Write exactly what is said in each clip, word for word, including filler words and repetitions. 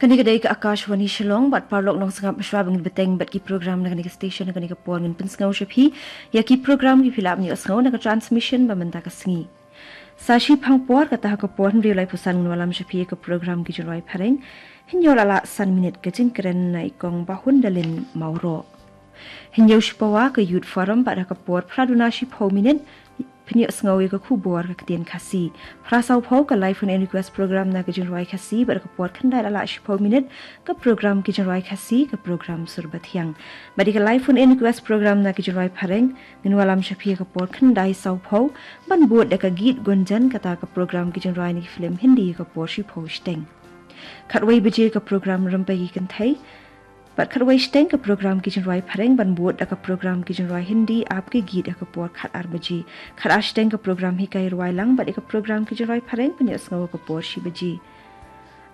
Kane ka dei ka Akashvani Shillong, bad paralok nongsngap, shuwa ba ngin bteng bad ki program na kane ka station, na kane ka por ngin pynsngew sha phi ïa ki program kiba phi lah ban ïohsngew na ka transmission ba mynta ka sngi. Sa shiphang por, kata ha ka por hynriew laiphew san, ngin wallam sha phi ïa ka program Ki Jingrwai Phareng, hynñiew la lah san minit, ka jingkren na i Kong Bahun Dalin Mawroh. Hynñiew shipawa, ka Youth Forum, bad ha ka por phra duna shiphew minit phin ïohsngew ïa ka khubor ka ktien Khasi. Phra sawphew, ka live phone in request program na Ki Jingrwai Khasi, bad ha ka por khyndai la lah shiphew minit, ka program Ki Jingrwai Khasi, ka program Sur Bathiang. Bad ïa ka live phone in request program na Ki Jingrwai Phareng, ngin wallam sha phi ha ka por khyndai sawphew, ban bud da ka Geet Gunjan, kata ka program Ki Jingrwai na ki film Hindi, ha ka por shiphew shiteng. Khatwei baje, ka program Rympei Ki Kynthei, bad khatwei shiteng, ka program Ki Jingrwai Phareng, ban bud da ka program Ki Jingrwai Hindi Aapke Geet, ha ka por khatar baje. Khatar shiteng, ka program Hikai Rwai Lang, bad ïa ka program Ki Jingrwai Phareng phin ïohsngew ha ka por shi baje.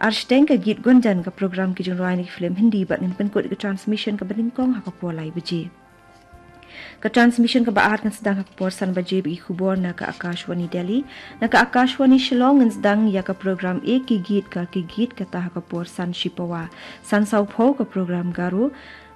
Ar shiteng, ka Geet Gunjan, ka program Ki Jingrwai na ki film Hindi, bad ngin pynkut ïa ka transmission kaba nyngkong ha ka por lai baje. Ka transmission kaba ar kan sdang ha ka por san baje bad ki khubor na ka Akashvani Delhi. Na ka Akashvani Shillong ngin sdang ïa ka program Ek Hi Geet Karke Geet, kata ha ka por san shipawa. San sawphew, ka program Garo,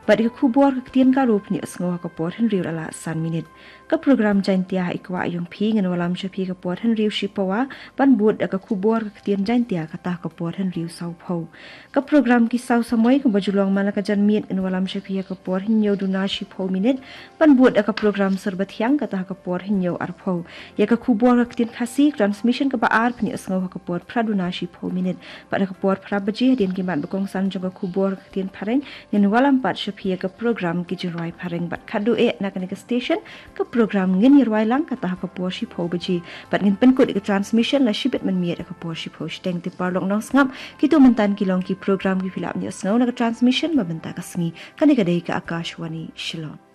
bad ïa ka khubor ka ktien Garo phin ïohsngew ha ka por hynriew la lah san minit. Ka program Jaintia Ha I Kwah Ïong Phi, ngin wallam sha phi ha ka por hynriew shipawa, ban bud da ka khubor ka ktien Jaintia, kata ha ka por hynriew sawphew. Ka program Ki Saw Samoi, kaba ju long man la ka janmiet, ngin wallam sha phi ha ka por hynñiew duna shiphew minit, ban bud da ka program Sur Bathiang, kata ha ka por hynñiew arphew. Ïa ka khubor ka ktien Khasi, transmission kaba ar phin ïohsngew ha ka por phra duna shiphew minit. Bad ha ka por phra baje, hadien ki mat ba kongsan jong ka khubor ka ktien Phareng, ngin wallam pat sha phi ïa ka program Ki Jingrwai Phareng, bad khatduh eh na kane ka station, ka program Ngin Ïarwai Lang, kata ha ka por shiphew baje. Bad ngin pynkut ïa ka transmission la shibit mynmiet ha ka por shiphew shiteng. Te paralok nongsngap, kito mynta ki long ki program kiba phi lah ban ïohsngew na ka transmission ba mynta ka sngi. Kane ka dei ka Akashvani Shillong.